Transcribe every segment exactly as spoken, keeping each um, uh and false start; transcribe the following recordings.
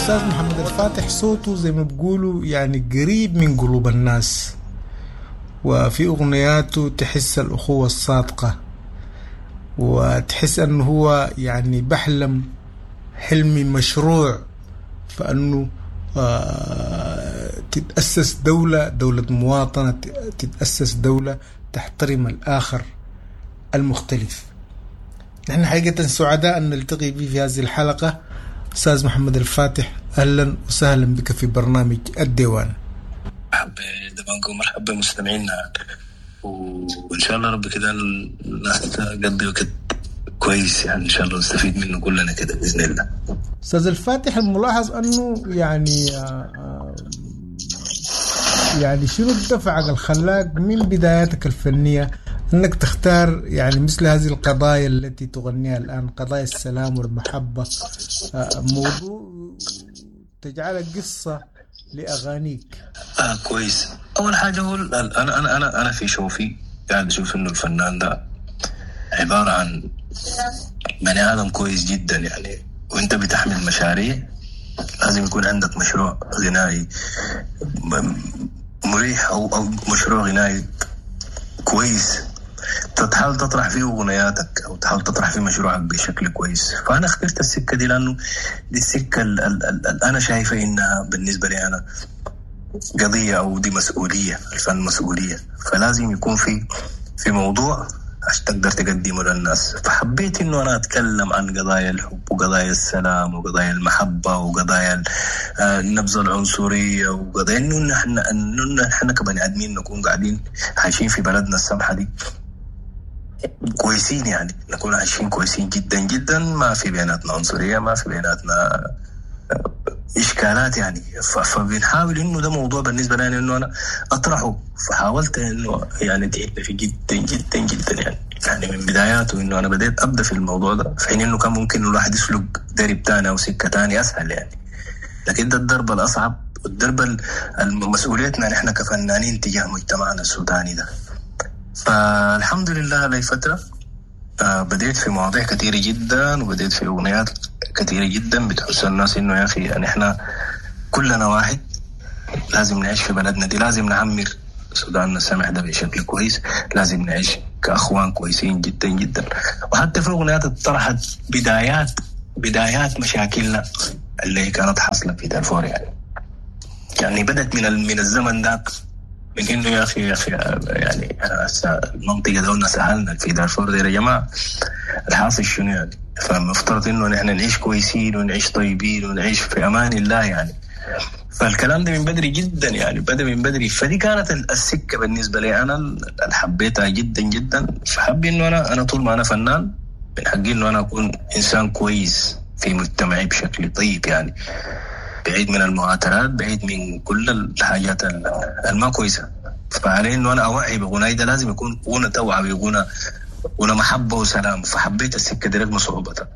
أستاذ محمد الفاتح صوته زي ما بيقولوا يعني قريب من قلوب الناس، وفي أغنياته تحس الأخوة الصادقة، وتحس أنه هو يعني بحلم حلم مشروع، فأنه آه، تتأسس دولة، دولة مواطنة، تتأسس دولة تحترم الآخر المختلف. نحن حقيقة سعداء أن نلتقي به في هذه الحلقة. أستاذ محمد الفاتح، أهلا وسهلا بك في برنامج الديوان. مرحبا دبانكو، مرحبا مستمعينا، وإن شاء الله رب كده الناس تقضي وقت كويس، يعني إن شاء الله نستفيد منه كلنا كده بإذن الله. أستاذ الفاتح، الملاحظ أنه يعني يعني شنو الدفع الخلاق من بداياتك الفنية أنك تختار يعني مثل هذه القضايا التي تغنيها الآن، قضايا السلام والمحبة، موضوع تجعلها قصة لأغانيك؟ آه كويس. أول حاجة هو أنا أنا أنا أنا في شوفي قاعد أشوف إنه الفنان ده عبارة عن بني آدم كويس جدا يعني، وأنت بتحمل مشاريع لازم يكون عندك مشروع غنائي مريح أو أو مشروع غنائي كويس تحاول تطرح فيه أغنياتك أو تحاول تطرح فيه مشروعك بشكل كويس. فأنا اخترت السكة دي لأنه دي السكة اللي أنا شايفة إنها بالنسبة لي أنا قضية أو دي مسؤولية، الفن مسؤولية، فلازم يكون في في موضوع عشان تقدر تقدمه للناس. فحبيت إنه أنا أتكلم عن قضايا الحب وقضايا السلام وقضايا المحبة وقضايا النبذ العنصرية وقضايا إنه نحن إنه نحن كبني آدمين نكون قاعدين عايشين في بلدنا السمحة دي كويسين، يعني نكون عايشين كويسين جدا جدا، ما في بيناتنا عنصرية، ما في بيناتنا إشكالات يعني. فبنحاول إنه ده موضوع بالنسبة لي إنه أنا أطرحه، فحاولت إنه يعني تعبت فيه جدا جدا جدا يعني يعني من بداياته إنه أنا بديت أبدأ في الموضوع ده، في حين إنه كان ممكن الواحد يسلك درب تاني أو سكة تاني أسهل يعني، لكن ده الضرب الأصعب والضرب مسؤوليتنا نحن كفنانين تجاه مجتمعنا السوداني ده. فالحمد لله لي فترة بديت في مواضيع كثيرة جدا، وبديت في أغنيات كثيرة جدا بتحس الناس إنه يا أخي يعني إحنا كلنا واحد، لازم نعيش في بلدنا دي، لازم نعمر سوداننا السمح ده بشكل كويس، لازم نعيش كأخوان كويسين جدا جدا. وحتى في أغنيات طرحت بدايات بدايات مشاكلنا اللي كانت حاصلة في دارفور يعني يعني بدت من من الزمن ذاك، من إنه يا أخي يا أخي يعني المنطقة دولنا سهلنا في دارفور دي يا جماعة، الحاصل شنو يعني؟ فمفترض إنه نحن نعيش كويسين ونعيش طيبين ونعيش في أمان الله يعني. فالكلام ده من بدري جدا يعني، بدأ من بدري. فدي كانت السكة بالنسبة لي أنا اللي حبيتها جدا جدا. فحبي إنه أنا أنا طول ما أنا فنان من حقي إنه أنا أكون إنسان كويس في مجتمعي بشكل طيب يعني، بعيد من المعاترات، بعيد من كل الحاجات الما كويسة. فعلي إنه أنا أوعي بغناي ده لازم يكون غنى توعوي، غنى غنى محبة وسلام. فحبيت السكة دي رغم صعوبتها.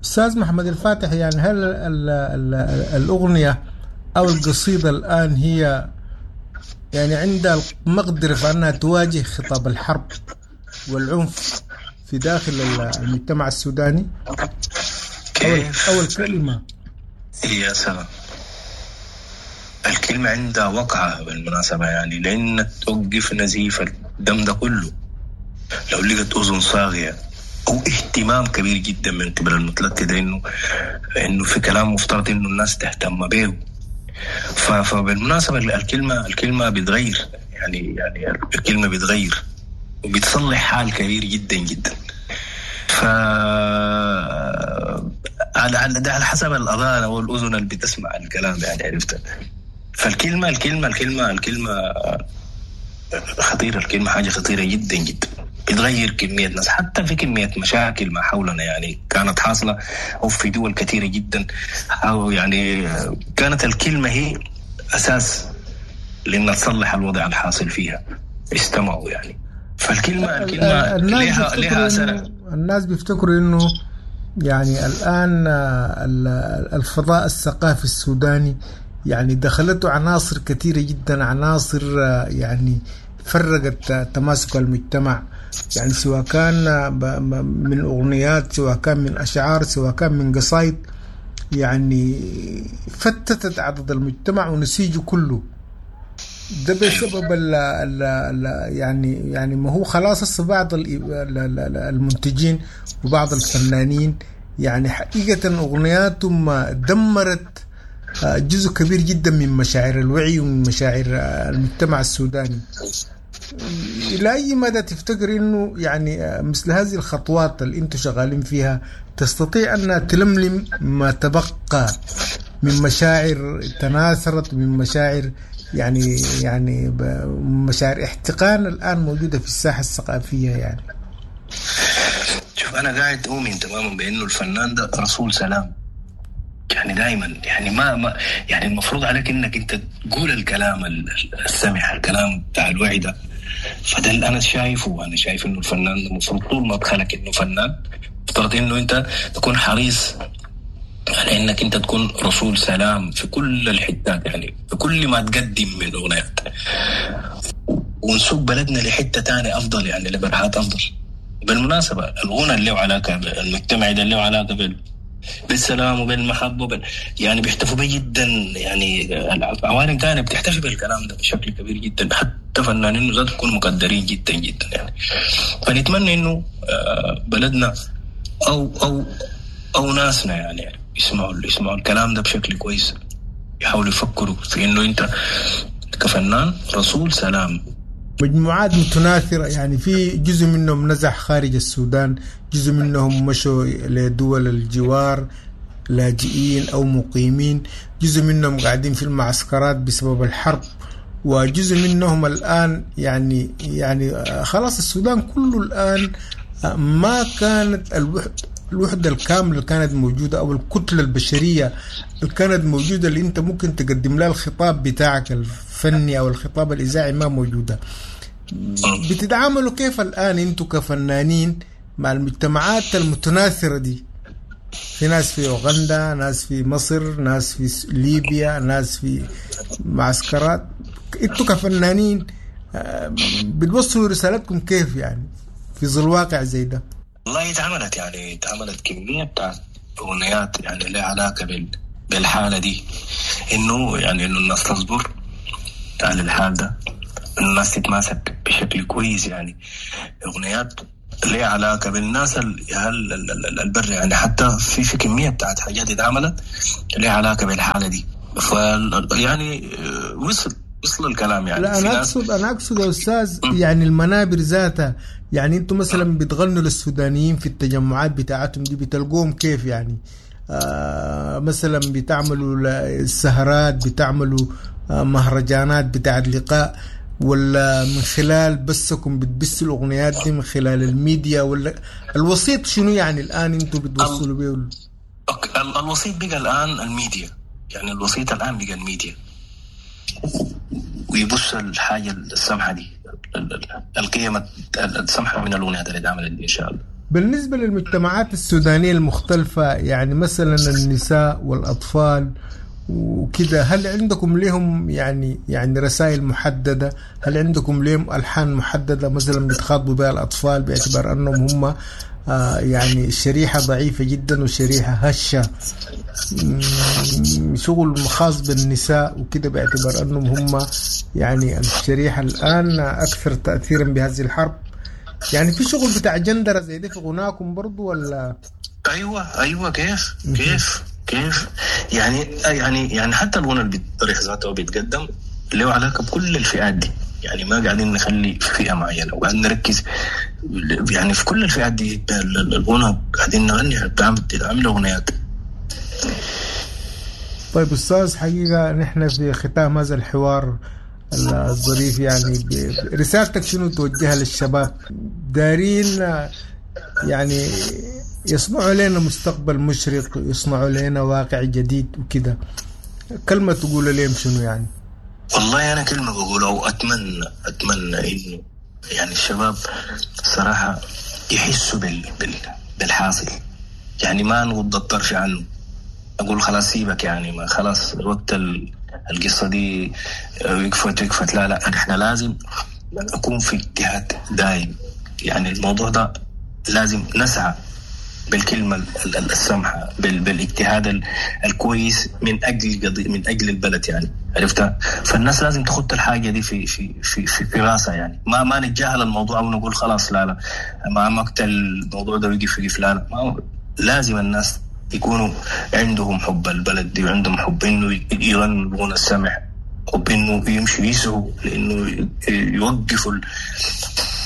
أستاذ محمد الفاتح، يعني هل ال ال الأغنية أو القصيدة الآن هي يعني عندها المقدرة في أنها تواجه خطاب الحرب والعنف في داخل المجتمع السوداني؟ كيف؟ أول كلمة يا سلام، الكلمة عندها وقعة بالمناسبة يعني، لأن توقف نزيف الدم ده كله لو لقت أذن صاغية أو اهتمام كبير جدا من قبل المتلقي ده، إنه إنه في كلام مفترض إنه الناس تهتم به. فبالمناسبة الكلمة الكلمة بتغير يعني يعني الكلمة بتغير وبتصلح حال كبير جدا جدا. ف على على ده على حسب الأذان أو الأذن اللي بتسمع الكلام يعني، عرفت؟ فالكلمة الكلمة الكلمة الكلمة خطيرة، الكلمة حاجة خطيرة جدا جدا، بتغير كمية ناس، حتى في كمية مشاكل ما حولنا يعني كانت حاصلة أو في دول كثيرة جدا، أو يعني كانت الكلمة هي أساس لأن تصلح الوضع الحاصل فيها، استمعوا يعني. فالكلمة الكلمة لها لها أثر. الناس بيفتكروا إنه يعني الآن الفضاء الثقافي السوداني يعني دخلته عناصر كثيرة جدا، عناصر يعني فرقت تماسك المجتمع، يعني سواء كان من أغنيات، سواء كان من أشعار، سواء كان من قصايد، يعني فتتت عدد المجتمع ونسيجه كله. ده بسبب ال ال ال يعني يعني ما هو خلاص هسه بعض المنتجين وبعض الفنانين يعني حقيقة أغنياتهم دمرت جزء كبير جدا من مشاعر الوعي ومن مشاعر المجتمع السوداني. إلى أي مدى تفتكر إنه يعني مثل هذه الخطوات اللي أنتم شغالين فيها تستطيع أن تلملم ما تبقى من مشاعر تناثرت، من مشاعر يعني يعني مشاعر احتقان الآن موجودة في الساحة الثقافية؟ يعني شوف، أنا قاعد أؤمن تماما بأنه الفنان ده رسول سلام، يعني دائما يعني ما, ما يعني المفروض عليك انك انت تقول الكلام السمح، الكلام بتاع الوعي ده. فده اللي انا شايفه. انا شايف انه الفنان المفروض طول ما دخلك انه فنان، افترض انه انت تكون حريص على انك انت تكون رسول سلام في كل الحتات، يعني في كل ما تقدم من اغنيات، ونسوق بلدنا لحته تانية افضل، يعني لبرهات افضل. بالمناسبه الغنى اللي له علاقه المجتمع ده اللي له علاقه بال بالسلام وبالمحبة وبال... يعني بيحتفوا به جدا، يعني العوالم تانية بتحتفي بالكلام ده بشكل كبير جدا، حتى فنانين ذات يكونوا مقدرين جدا جدا يعني. فنتمنى انه بلدنا او او او ناسنا يعني يسمعوا يسمعوا الكلام ده بشكل كويس، يحاولوا يفكروا في انه انت كفنان رسول سلام. مجموعات متناثرة، يعني في جزء منهم نزح خارج السودان، جزء منهم مشوا لدول الجوار لاجئين أو مقيمين، جزء منهم قاعدين في المعسكرات بسبب الحرب، وجزء منهم الآن يعني يعني خلاص السودان كله الآن ما كانت الوحدة الوحدة الكاملة اللي كانت موجودة أو الكتلة البشرية اللي كانت موجودة اللي أنت ممكن تقدم لها الخطاب بتاعك الفني أو الخطاب الإذاعي ما موجودة. بتتعاملوا كيف الآن أنتوا كفنانين مع المجتمعات المتناثرة دي؟ في ناس في أوغندا، ناس في مصر، ناس في ليبيا، ناس في معسكرات. أنتوا كفنانين بتوصلوا رسالتكم كيف يعني في ظل واقع زي ده؟ والله اتعملت يعني اتعملت كمية بتاعت أغنيات يعني لها علاقة بال بالحالة دي، إنه يعني إنه الناس تصبر على الحال ده، إنه الناس تتماسك بشكل كويس. يعني أغنيات لها علاقة بالناس البر، يعني حتى في في كمية بتاعت حاجات اتعملت لها علاقة بالحالة دي. ف يعني وصل وصل الكلام يعني. لا أنا أقصد أنا أقصد يا أستاذ يعني المنابر ذاتها، يعني أنتم مثلا بتغنوا للسودانيين في التجمعات بتاعتهم دي بتلقوهم كيف يعني؟ آه مثلا بتعملوا السهرات، بتعملوا آه مهرجانات بتاعت لقاء، ولا من خلال بسكم بتبثوا الأغنيات دي من خلال الميديا، ولا الوسيط شنو يعني الآن أنتم بتوصلوا بيه؟ الوسيط بقى الآن الميديا، يعني الوسيط الآن بقى الميديا، ويبص الحاجة السمحة دي، القيمة السمحة من الأغنيات اللي اتعملت دي إن شاء الله. بالنسبة للمجتمعات السودانية المختلفة، يعني مثلا النساء والأطفال وكذا، هل عندكم لهم يعني يعني رسائل محددة؟ هل عندكم لهم ألحان محددة مثلا بتخاطبوا بها الأطفال باعتبار أنهم هم آه يعني شريحة ضعيفة جدا وشريحة هشة، شغل خاص بالنساء وكده، باعتبار أنهم هم يعني الشريحة الآن أكثر تأثيرا بهذه الحرب؟ يعني في شغل بتاع جندرة زي ده في غناكم برضو ولا؟ أيوة أيوة كيف كيف كيف يعني يعني يعني حتى الغنى اللي بيطرح ذاته وبيتقدم له علاقة بكل الفئات دي، يعني ما قاعدين نخلي فئة معينة وقاعدين نركز يعني في كل الفئات دي. الغنى قاعدين نغني بتعمل أغنيات. طيب أستاذ، حقيقة نحن في ختام هذا الحوار الظريف، يعني رسالتك شنو توجهها للشباب دارين يعني يصنعوا لنا مستقبل مشرق، يصنعوا لنا واقع جديد وكده، كلمة تقول لهم شنو يعني؟ والله أنا كلمة بقولها وأتمنى أتمنى إنه يعني الشباب صراحة يحسوا بال بال بالحاصل، يعني ما نغض الطرف عنه، أقول خلاص سيبك يعني ما خلاص وقت القصة دي وقفت وقفت، لا لا نحن لازم نكون في اجتهاد دائم، يعني الموضوع ده لازم نسعى بالكلمة السمحة، بالاجتهاد الكويس من اجل قضية، من اجل البلد يعني، عرفتها؟ فالناس لازم تخط الحاجة دي في في في في, في راسها يعني، ما ما نتجاهل الموضوع او نقول خلاص لا لا ما مقتل الموضوع ده ويقف يقف، لا لا، ما لازم الناس يكونوا عندهم حب البلد دي، وعندهم حب انه يغنوا الغنى السمح، حب انه يمشوا يسعوا لانه يوقفوا ال...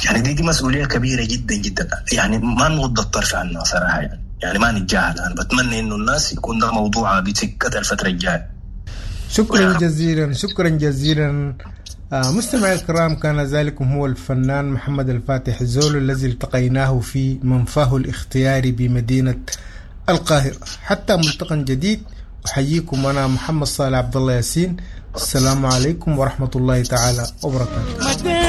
يعني دي دي مسؤولية كبيرة جدا جدا يعني، ما نغض الطرف عنها صراحة يعني، يعني ما نتجاهل. انا بتمنى انه الناس يكون ده موضوع بسكتها الفترة الجاية. شكرا جزيلا، شكرا جزيلا مستمعي الكرام. كان ذلكم هو الفنان محمد الفاتح زولو الذي التقيناه في منفاه الاختياري بمدينة القاهرة. حتى ملتقى جديد، أحييكم أنا محمد صالح عبد الله ياسين. السلام عليكم ورحمة الله تعالى وبركاته.